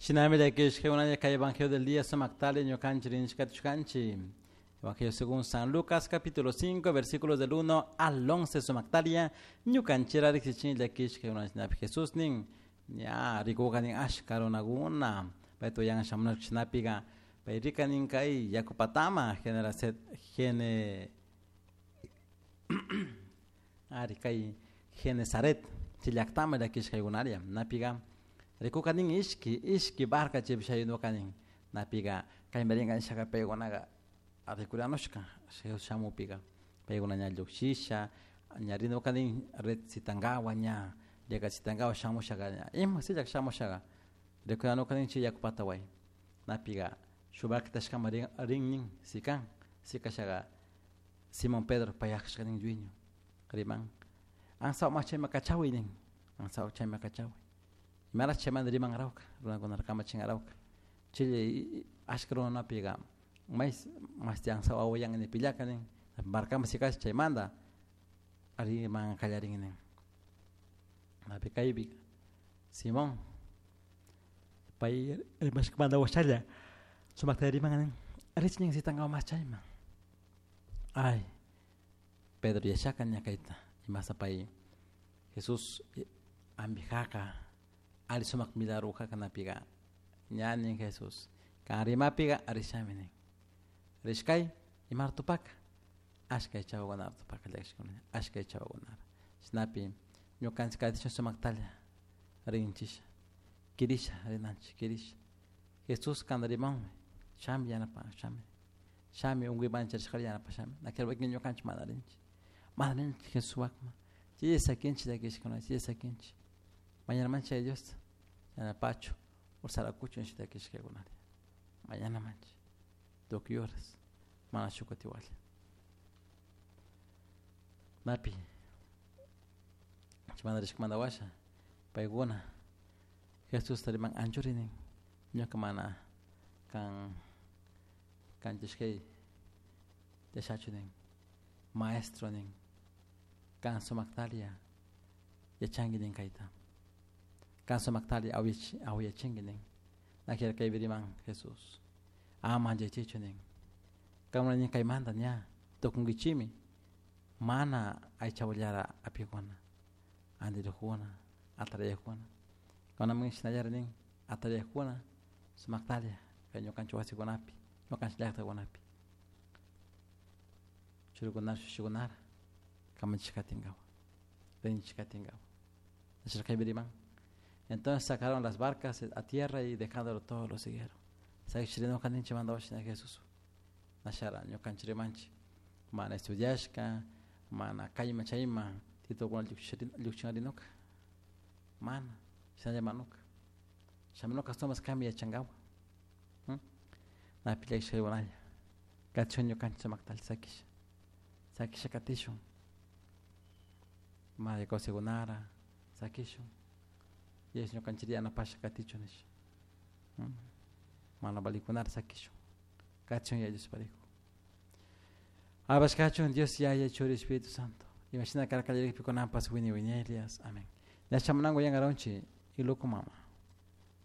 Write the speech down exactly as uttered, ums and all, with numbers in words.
Shinami llakishka kay Evangelio del día sumaktali ñukanchik rinchikatushkanchik. Evangelio según San Lucas capítulo cinco versículos del uno al once sumaktalia ñukanchira riksichin llakishka shinapi Jesús nin ña rikuka nin ashka runakuna payta uyan shamushka shinapiga pay rika nin kay yakupatama Genesaret gene ari kay Genesaret chay llaktama llakishkaykunaria napiga rikuka nin ishki ishki barca chaypi shayunuka nin napiga kaymarinka nishaka paykunaga rikuranushka shamupiga paykuna ña llukshisha ña rinuka nin red sitankawa ña llakachitankawa shamushaka ña ima sillak shamushaga rikuranuka nin chay yakupata way napiga shuk barquitashkama rin rin nin sikan sikashaga Simón Pedro payakshka nin dueño riman ansaw chayma kachawi nin ansaw chayma kachawi imaraj chaymanta rimanrauka runakunata kamachinarauka chay ashka runapiga may mashti ansaw awayan nipillaka nin barcaman sikash chaymanta riman qallarin nin napi kaypi Simón pay rimashkamanta washalla sumakta riman nin rich nin sitankawa mas chayman ay Pedro yachaka ña kayta imasa pay Jesús ambijaka ali sumak milagro napiga ña nin Jesús kan rimapiga rishami nin rishkay imar tupaka ashka chawakunata tupaka llakishkuna ashka chawakunata shinapi ñukanchik katishun sumaktalla rinchisha kirisha rinanchik kirisha Jesús kanta rimanmi shami yanapan shami shami unkuyman charishkata yanapashami nakira wakin ñukanchik mana rinchik mana rinchik Jesuspakman chay sakinchik llakishkuna chay sakinchik mañana chay Diosta yanapachu ursarakuchun nisha llakishkaykunata mañana manchik tukuy horas mana shuk kutiwalla napi chaymanta rishkamanta washa paykuna Jesusta riman anchuri nin ñuka mana kan kanchishkay yashachu nin maestro nin kan sumaktalia yachanki nin kayta kan sumaktalla awiyachinki nin nakira kaypi riman Jesús ama manchaychikchu nin kankuna nin kaymanta ña tukunkichikmi mana aychawallara apikuna antirukuna atarayakuna kunamin shinallara nin atarayakuna sumaktalla kay ñukanchik wasikunapi ñukanchik llaktakunapi churikunara shushikunara kamachishka katinkawa rinchik katinkawa kaypi riman. Entonces sacaron las barcas a tierra y dejándolo todo lo siguieron. Sakishrinuka ninchik mandawashina Jesús nashara ñukanchik rimanchik mana estudiashka mana kayman chayman titulokuna llukchinarinuka mana shinalla manuka shamunuka ashtawanpas kami yachankawa napi llakishkaykunalla katishun ñukanchik sumaktalla sakisha sakisha katishun mana kawsaykunara sakishun Dios ñukanchik yanapasha katichun nisha mana valikunara sakishun katishun Yaya Diospariku Alabashkachun Dios Yaya Churi Espíritu Santo imashina karka kallarikpi kunanpas wini wiñaylias amén. Ña shamunanku yankaronchik iluku mama.